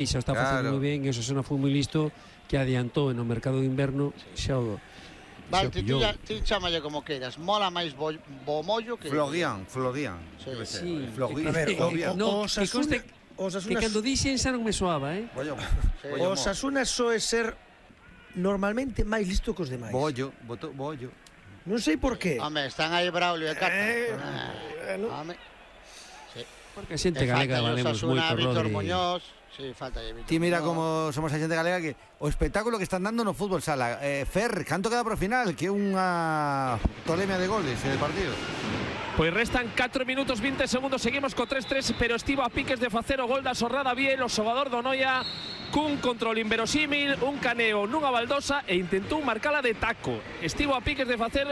E xa está facendo moi ben, e o Osasuna foi moi listo, que adiantou no mercado de inverno xa o... Vale, ti chámalle como queiras. Mola máis Bomollo que... Florian. Sí. Florian. No, que cando dixen xa non me soaba, O Osasuna soe ser normalmente máis listo que os demais. Bollo. Non sei por qué. Home, están aí Braulio e Cata. Home. Porque a xente galega valemos moito, Víctor Rodri. Muñoz. Sí, falta aí Víctor Ti mira Muñoz. como somos a xente galega que o espectáculo que están dando no fútbol sala. Fer, canto queda pro final? Que é unha tolemia de goles de partido. Pois restan 4 minutos 20 segundos, seguimos co 3-3, pero estivo a piques de facer o gol da Sorrada Biel, o xogador do Noia, cun control inverosímil, un caneo nunha baldosa e intentou marcala de taco. Estivo a piques de facer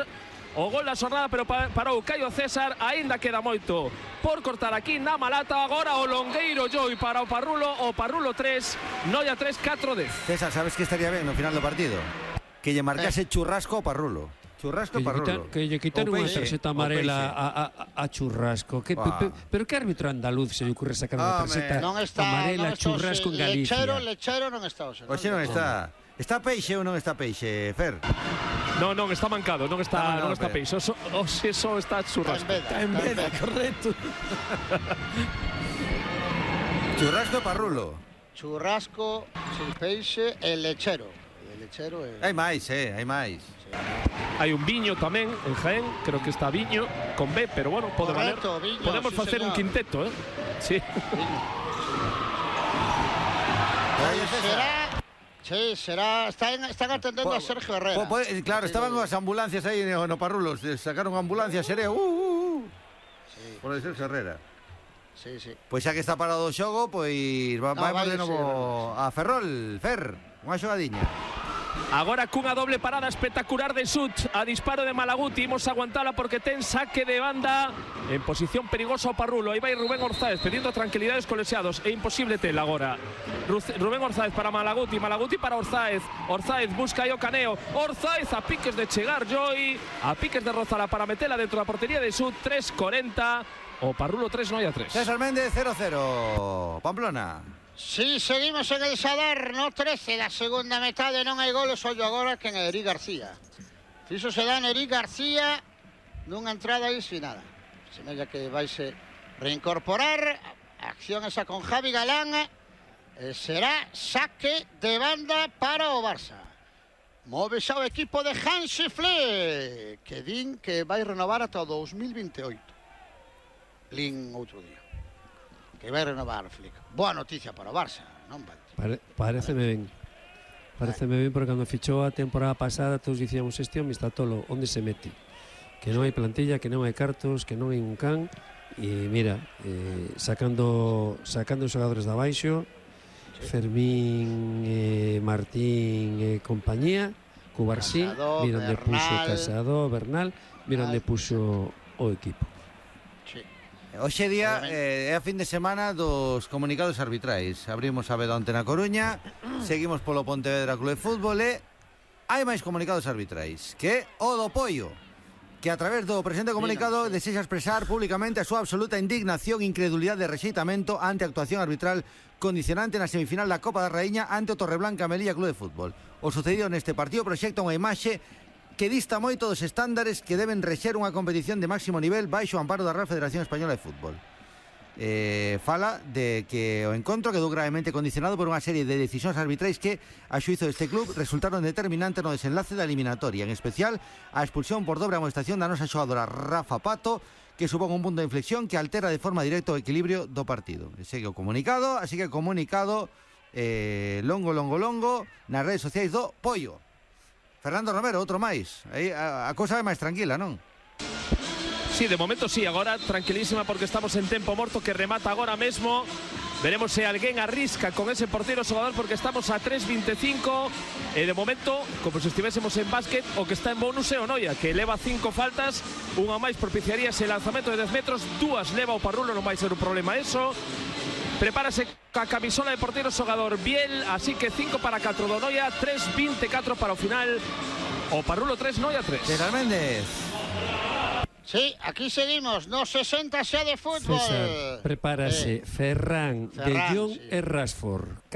o gol da Sorrada, pero parou Caio César, aínda queda moito por cortar aquí na Malata. Agora o longueiro Joy para o Parrulo 3, Noia 3, 4-10. César, sabes que estaría ben no final do partido? Que lle marcase churrasco ao Parrulo. Churrasco Parrulo. Que lle quitaron unha tarxeta amarela a Churrasco. Pero que árbitro andaluz se lle ocurre sacar unha tarxeta amarela a Churrasco en Galicia? Lechero non está hoxe. Hoxe non está. Está Peixe ou non está Peixe, Fer? Non, está mancado, non está Peixe. Hoxe só está Churrasco. Está en veda, correcto. Churrasco Parrulo. Churrasco, Peixe e Lechero. Hai máis, hai máis. Hai un Viño tamén en Jaén, creo que está Viño con B, pero bueno, pode valer. Podemos facer un quinteto, Sí. Será, están atendendo a Sergio Herrera. Claro, estaban as ambulancias aí no Parrulo, sacaron ambulancias, Sereo. Por el Sergio Herrera. Sí. Pois xa que está parado o xogo, pois vamos de novo a Ferrol, Fer, unha xogadiña. Agora cunha doble parada espectacular de Sut a disparo de Malaguti, imos aguantala porque ten saque de banda en posición perigosa o Parrulo. Aí vai Rubén Orzáez pedindo tranquilidades colexiados, é imposible tel agora. Rubén Orzáez para Malaguti para Orzáez. Orzáez busca aí o caneo, Orzáez a piques de chegar Joy, a piques de rozala para metela dentro da portería de Sut. 3:40, o Parrulo 3, Noia 3. César Méndez 0-0, Pamplona. Sí, seguimos en el Sadar, no 13 da segunda metade, non hai goles, ollo agora que en Eric García. Fixo se dá en Eric García nunha entrada aí sin nada. Semella que vaise reincorporar, a acción esa con Javi Galán, será saque de banda para o Barça. Move xa o equipo de Hansi Flick, que din que vai renovar ata o 2028. Lin outro día. Que vai renovar Flick. Boa noticia para o Barça, non, Valti? Pareceme ben. Pareceme ben porque cando fichou a temporada pasada todos dicíamos este home está tolo, onde se mete? Que non hai plantilla, que non hai cartos, que non hai un can. E mira, sacando os xogadores de abaixo, Fermín, Martín e compañía, Cubarsí, mira onde puxo Casado, Bernal, mira onde puxo o equipo. Hoxe día é a fin de semana dos comunicados arbitrais. Abrimos a veda onte na Coruña, seguimos polo Pontevedra Club de Fútbol e hai máis comunicados arbitrais, que o do Pollo, que a través do presente comunicado desexa expresar públicamente a súa absoluta indignación, incredulidade e rexeitamento ante a actuación arbitral condicionante na semifinal da Copa da Raíña ante o Torreblanca Melilla Club de Fútbol. O sucedido neste partido proxecta unha imaxe que dista moito dos estándares que deben rexer unha competición de máximo nivel baixo o amparo da Real Federación Española de Fútbol. Fala de que o encontro quedou gravemente condicionado por unha serie de decisións arbitrais que, a xuízo deste club, resultaron determinantes no desenlace da eliminatoria, en especial a expulsión por dobre amonestación da nosa xogadora Rafa Pato, que supón un punto de inflexión que altera de forma directa o equilibrio do partido. Segue o comunicado, así que comunicado longo nas redes sociais do Pollo. Fernando Romero, outro máis. Aí a cousa é máis tranquila, non? Sí, de momento sí, agora tranquilísima porque estamos en tempo morto que remata agora mesmo. Veremos se alguén arrisca con ese porteiro xogador porque estamos a 3:25 e de momento, como se estivésemos en básquet, o que está en bonus é o Noia, que leva 5 faltas, unha máis propiciaría ese lanzamento de 10 metros, 2 leva o Parrulo, non vai ser un problema eso. Prepárase a camisola de porteiro xogador Biel, así que 5 para 4 do Noia, 3:24 para o final. O Parrulo 3, Noia 3. César Méndez. Sí, aquí seguimos, no 60 xa de fútbol. César, prepárase Ferran, De Jong sí. e Rashford.